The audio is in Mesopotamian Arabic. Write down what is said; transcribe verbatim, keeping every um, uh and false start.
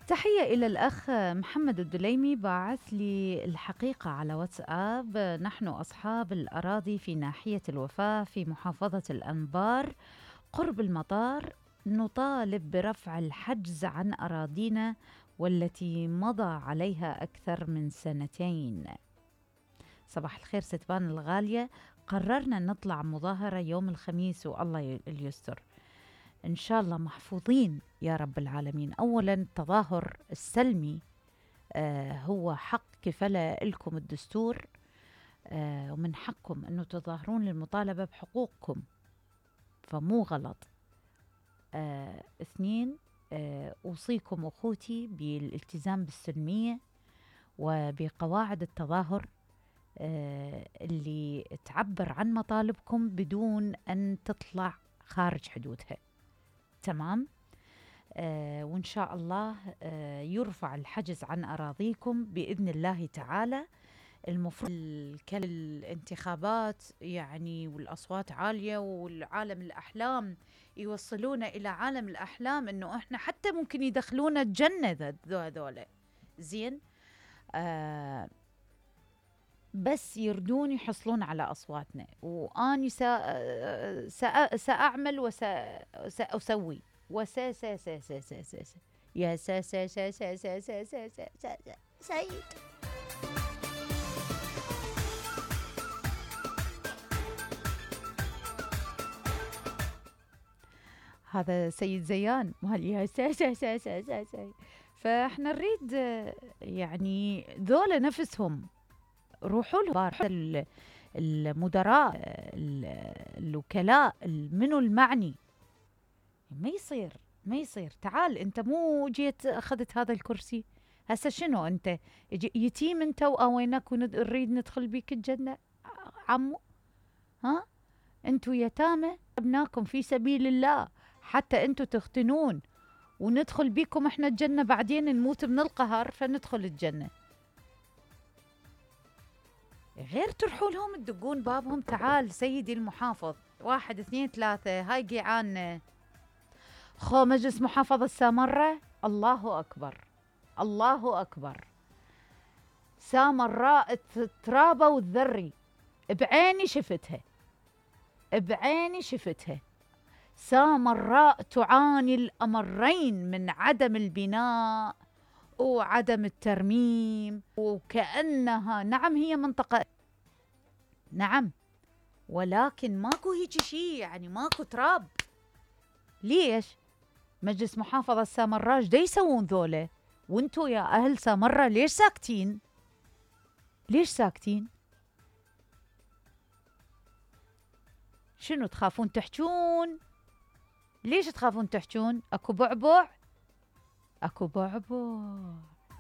تحية إلى الأخ محمد الدليمي، باعث لي الحقيقة على واتساب. نحن أصحاب الأراضي في ناحية الوفاة في محافظة الأنبار قرب المطار نطالب برفع الحجز عن أراضينا والتي مضى عليها أكثر من سنتين. صباح الخير ستبان الغالية، قررنا نطلع مظاهرة يوم الخميس والله اليستر إن شاء الله محفوظين يا رب العالمين. أولا التظاهر السلمي آه هو حق كفله لكم الدستور، آه ومن حقكم أنه تظاهرون للمطالبة بحقوقكم، فمو غلط. آه اثنين، آه أوصيكم أخوتي بالالتزام بالسلمية وبقواعد التظاهر آه اللي تعبر عن مطالبكم بدون أن تطلع خارج حدودها. تمام. آه وإن شاء الله آه يرفع الحجز عن أراضيكم بإذن الله تعالى. المفروض الانتخابات يعني والأصوات عالية والعالم الأحلام يوصلونا إلى عالم الأحلام إنه إحنا حتى ممكن يدخلونا الجنة هذول. زين. آه بس يردون يحصلون على أصواتنا، وأني سا سا سأعمل وسأسوي وسا سا سا سا سا سا سا يا سا سا سا سا سا سا سا سا سا سعيد. هذا سيد زيان مال يا سا سا سا سا سا سا. فاحنا نريد يعني ذولا نفسهم روحوا له المدراء الوكلاء منو المعني. ما يصير ما يصير. تعال انت مو جيت اخذت هذا الكرسي، هسه شنو انت يتيم انت واوينك ونريد ندخل بيك الجنة عمو؟ ها انتو يتامى ابناكم في سبيل الله حتى انتو تختنون وندخل بيكم احنا الجنة، بعدين نموت من القهر فندخل الجنة. غير تروحوا لهم تدقون بابهم، تعال سيدي المحافظ واحد اثنين ثلاثة هاي قيعان خو مجلس محافظة سامرة. الله أكبر الله أكبر. سامراء الترابة والذري بعيني شفتها بعيني شفتها. سامراء تعاني الأمرين من عدم البناء وعدم الترميم، وكأنها نعم هي منطقة نعم ولكن ماكو هيك شيء، يعني ماكو تراب. ليش مجلس محافظة سامراء دا يسوون ذولا وانتو يا أهل سامراء ليش ساكتين؟ ليش ساكتين؟ شنو تخافون تحجون؟ ليش تخافون تحجون؟ اكو بعبع اكو بعبع